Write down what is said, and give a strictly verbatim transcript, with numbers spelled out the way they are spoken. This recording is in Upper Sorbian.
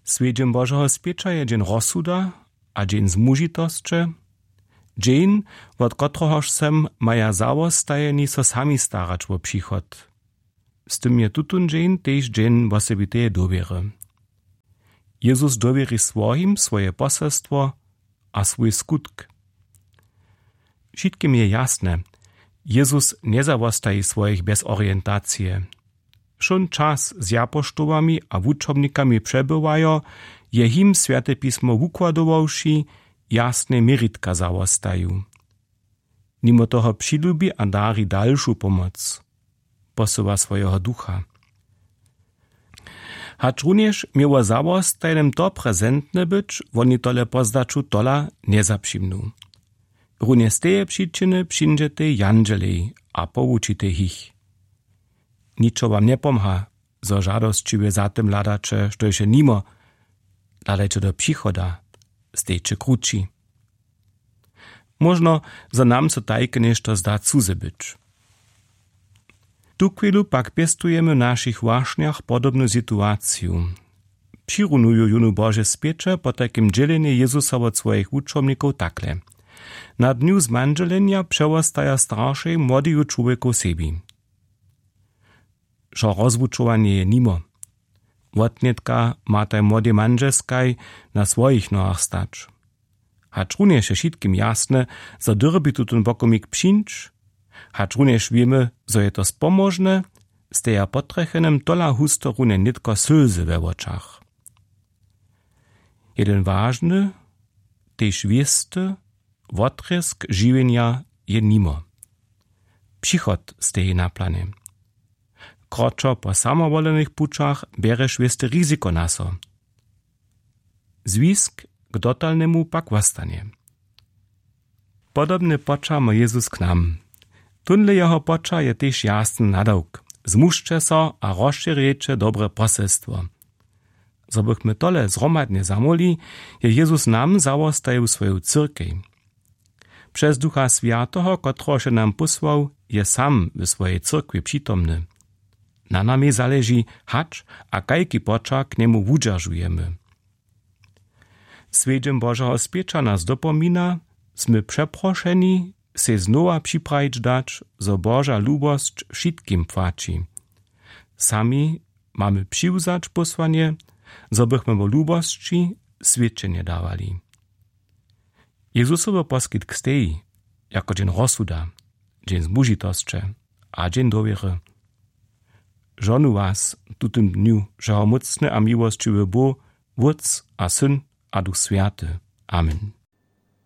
Swjedźeń Božeho spěća je dźeń rozsuda a dźeń zmužitosće, dźeń, wot kotrehož sem maja zawostajeni so sami starać wo přichod. Z tym je tutón dźeń tež dźeń wosebiteje dowěry. Jezus dowěri swojim swoje poselstwo a swój skutk. Wšitkim je jasne, Jezus njezawostaji swojich bjez orientacije. Wšón čas z japoštołami a wučobnikami přebywajo, je jim Swjate pismo wukładowawši, jasne měritka zawostaju. Nimo toho přilubi a dari dalšu pomoc, posyła swojeho ducha. Hačrunjež měło zawostajnym to prezentne być, woni tole po zdaću tola njezapřimnu. Runje z teje přičiny přińdźetej jandźelej a powučitej jich. Ničo wam njepomha, zo žadosćiwje za tym hladaće, štož je nimo. Hladajće do přichoda, stejće krući. Móžno, zo nam so tajke něšto zda cuze być. Tuchwilu pak pěstujemy w našich wašnjach podobnu situaciju. Přirunuju jónu Bože spěće potajkim dźělenje Jezusa wot swojich wučomnikow takle: Na dnju zmandźelenja přewostaja staršej młodeju čłowjekow sebi. Wšo rozwučowanje je nimo. Wotnětka mataj młodej mandźelskaj na swojich nohach stać. Hačrunjež je wšitkim jasne, zo dyrbi tutón wokomik přińć, hačrunjež wěmy, zo je to spomóžne, steja potrjechenym tola husto runje nětko sylzy we wočach. Jeden wažny, tež wěsty wotrězk žiwjenja je nimo. Přichod steji na planje. Kroćo po samowolenych pućach bjerješ wěste riziko na so. Zwisk k dotalnemu pak wostanje. Podobne poćah ma Jezus k nam. Tónle jeho poćah je tež jasny nadawk: Zmužće so a rozšěrjejće dobre poselstwo. Zo bychmy tole zhromadnje zamóhli, je Jezus nam zawostajił swoju cyrkej. Přez Ducha Swjateho, kotrehož je nam pósłał, je sam w swojej cyrkwi přitomny. Na namej zaleži, hač a kajki poćah k njemu wudźeržujemy. Swjedźeń Božeho spěća nas dopomina, smy přeprošeni, sej znowa připrajić dać, zo Boža lubosć wšitkim płaći. Sami mamy přiwzać pósłanje, zo bychmy wo lubosći swědčenje dawali. Jezusowy poskitk steji jako dźeń rozsuda, dźeń zmužitosće a dźeń dowěry. Žonu was w tutym dnju wšehomócny a miłosćiwy Bóh, Wótc a Syn a Duch Swjaty. Amen.